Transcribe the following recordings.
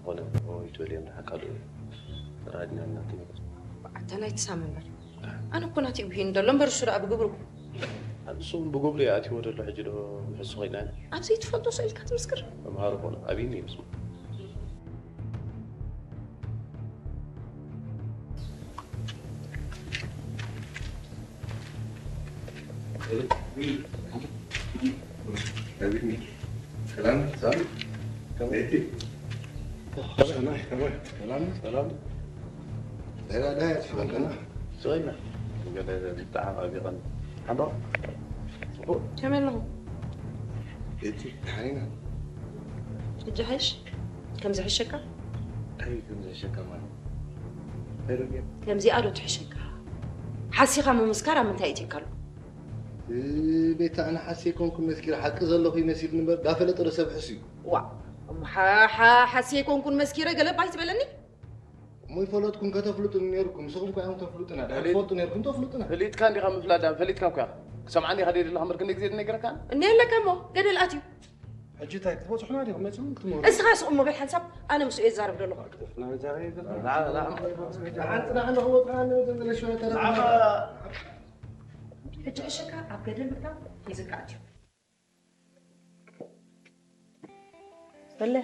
ዝኾነ ኦይ ትበል እዮም ደሓር ካልእ ራድና እናትንበት ኣታ ናይ ትሳም እምበር ኣነ እኮ ናቲ ውሂን ደሎ እምበር እሱ ደኣ ብግብሩ ንሱ እውን ብግብሩ እዩ ኣትይዎ ዘሎ ሕጂ ዶ ምሕሱ ኮይና ኣብዚ ትፈልጦ ስእልካ ትምስክር መምሃሪ ኮነ ኣብይኒ እዩ ምስማ ከመይ ኣለኹ? ሕጂ ሓይሽ ከምዚ ሕሸካ? ከምዚ ሕሸካ ማለት ከምዚኣ ዶ ትሕሸካ? ሓሲኻ ምምስካር ኣብ ምንታይ እትካ ኣሎ? ቤታ ኣነ ሓሲ ኣይኮንኩን መስኪረ ሓቂ ዘለኹ ይመሲልኒ እምበር ዳፈለጠ ዶ ሰብ ሕሱ እዩ? ዋ እሞ ሓ- ሓ- ሓሲ ኣይኮንኩን መስኪረ ገለ ባይ ትበለኒ? እሞ ይፈለጥኩም ከተፍልጡኒ ነይርኩም ንስኹም እኳ ኢኹም ተፍልጡና ድሕር ትፈልጡ ነይርኩም ተፍልጡና። ፈሊጥካ እንዲኻ ምፍላጥ ዳን ፈሊጥካ እኳ ክሰምዓኒ ኢኻ ደይ ዘለኻ እምበር ክንደይ ግዜ ነግረካ እኒ ኣለካ እሞ ገደል ኣትዩ ሕጂ እንታይ ክትበፅሑና ዲኹም መፅኹም ክትመሩ እስኻ ስቕ እሞ በል ሓንሳብ ኣነ ምስኡ የዛረብ ዘለኹ ሕጂ ሕሸካ ኣብ ገደል ምእታው ሒዝካ ኣትዩ በለ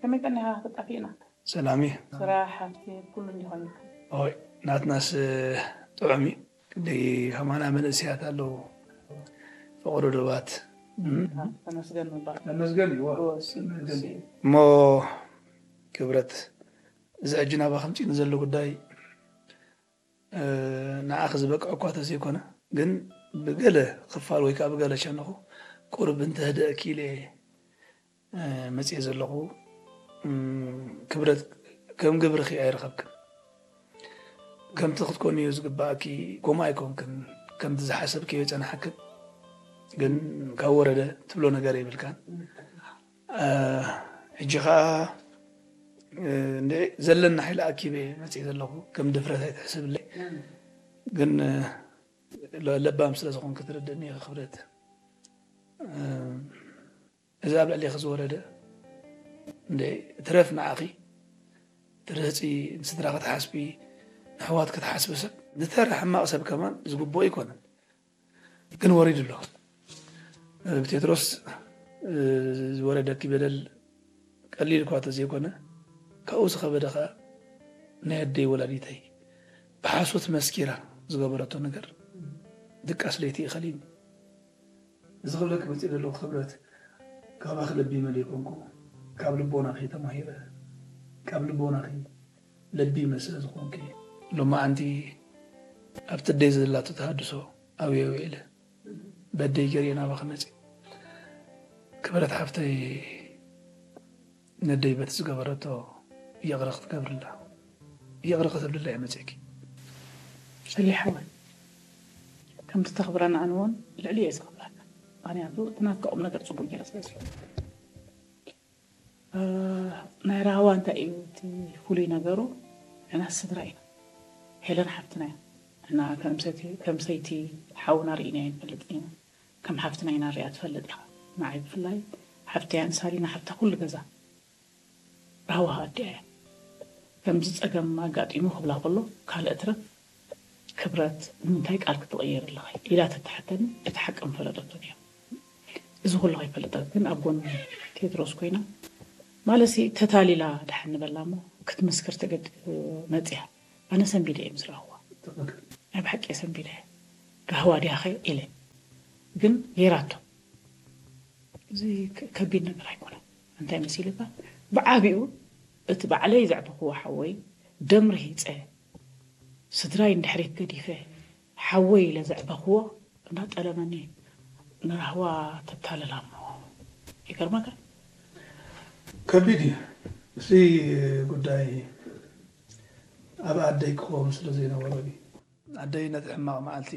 ከመይ ቀኒኻ ተጣፊእና ሰላም እዩ ስራሕ ሃብቲ ኩሉ እንዲኾን ኦይ ናትናስ ጥዑም እዩ ክንደይ ከማና መንእስያት ኣለዉ ፈቕዶ ዶባት ተመስገን ምባል ተመስገን እዩ እሞ ክብረት እዚ ሕጂ ናባ ከምፂእኒ ዘሎ ጉዳይ ንዓኺ ዝበቅዐ እኳ ተዘይኮነ ግን ብገለ ክፋል ወይ ከዓ ብገለ ሸነኹ ቁሩብ እንተህደእኪ ኢለ መፅየ ዘለኹ ክብረት ከም ግብርኺ ኣይረኸብክን ከምቲ ክትኮንዮ ዝግባእኪ ከምኡ ኣይኮንክን ከምቲ ዝሓሰብክዮ ይፀናሓክን ግን ካብ ወረደ ትብሎ ነገር የብልካን ሕጂ ከዓ ዘለኒ ሓይሊ ኣኪበ መፅእ ዘለኹ ከም ድፍረት ኣይትሕስብለይ ግን ለባም ስለ ዝኾንክ ትርድእኒ ኢኻ ክብረት እዚ ኣብ ልዕሌኺ ዝወረደ እንደ ትረፍ ንዓኺ ትርህፂ ንስድራ ክትሓስቢ ንሕዋት ክትሓስቢ ሰብ ንተራ ሕማቕ ሰብ ከማን ዝግብኦ ኣይኮነን ግን ወሪዱ ኣሎ ብቴድሮስ ዝወረደኪ በደል ቀሊል እኳ ተዘይኮነ ካብኡ ዝኸበደ ኸዓ ናይ ኣደይ ወላዲተይ ብሓሶት መስኪራ ዝገበረቶ ነገር ድቃስ ለይቲ ይኸሊኒ እዚ ክብለኪ መፅእ ዘለኹ ክብረት ካባኺ ለቢመ ዘይኮንኩ ካብ ልቦናኺ ተማሂረ ካብ ልቦናኺ ለቢመ ስለ ዝኾንኩ እየ። ሎማዓንቲ ኣብቲ ኣደይ ዘላቶ ተሃድሶ ኣብየ ውዒለ በደይ ገይረ ናባኺ መፅየ። ክብረት ሓፍተይ ነደይ በቲ ዝገበረቶ ይቕረ ክትገብርላ ይቕረ ክትብልላ እየ መፅየኪ። ሰሌ ሓወይ ከምቲ ተኽብረኒ ኣነ እውን ልዕሊ እየ ዘኽብረካ። ምኽንያቱ እቲ ናትካ ቁምነገር ፅቡቕ ገይረ ስለ ዝፈልጥ። ናይ ራህዋ እንታይ እዩ እቲ ፍሉይ ነገሩ? ንሕና ስድራ ኢና። ሄለን ሓፍትና እያ። ንሕና ከም ሰይቲ ሓውና ርኢናዮ ኣይንፈልጥን ኢና። ከም ሓፍትና ኢና ንሪኣ ትፈልጥ ኢኻ። ንዓይ ብፍላይ ሓፍተይ እያ ንሳሊና ሓፍታ ኩሉ ገዛ። ራህዋ ኣዲኣ እያ። ከምዚ ፀገም ኣጋጢሙ ክብላ ከሎ ካልእ እትረፍ ክብረት ንምንታይ ቃል ክትቕይር ኣለኺ ኢላ ተትሓተኒ እቲ ሓቂ ምፈለጠቶ ነይሩ። እዚ ኩሉ ከይፈለጠት ግን ኣብ ጎኒ ቴድሮስ ኮይና ማለትሲ ተታሊላ ደሓን ንበላ እሞ ክትምስክር ተገድ መፅያ ኣነ ሰንቢደ እየ ምስ ረኣኽዋ ናይ ብሓቂ እየ ሰንቢደ ራህዋ ድያኸ ኢለ ግን ገይራቶ እዚ ከቢድ ነገር ኣይኮነን እንታይ መሲልካ ብዓቢኡ እቲ ባዕለይ ዘዕበኽዎ ሓወይ ደም ርሂፀ ስድራይ እንድሕሪት ገዲፈ ሓወይ ኢለ ዘዕበኽዎ እንዳጠለመኒ ንራህዋ ተታልላ እሞ ይገርመካ ከቢድ እዩ እዚ ጉዳይ ኣብ ኣደይ ክኸውን ስለ ዘይነበሮ እዩ ኣደይ ነቲ ሕማቕ መዓልቲ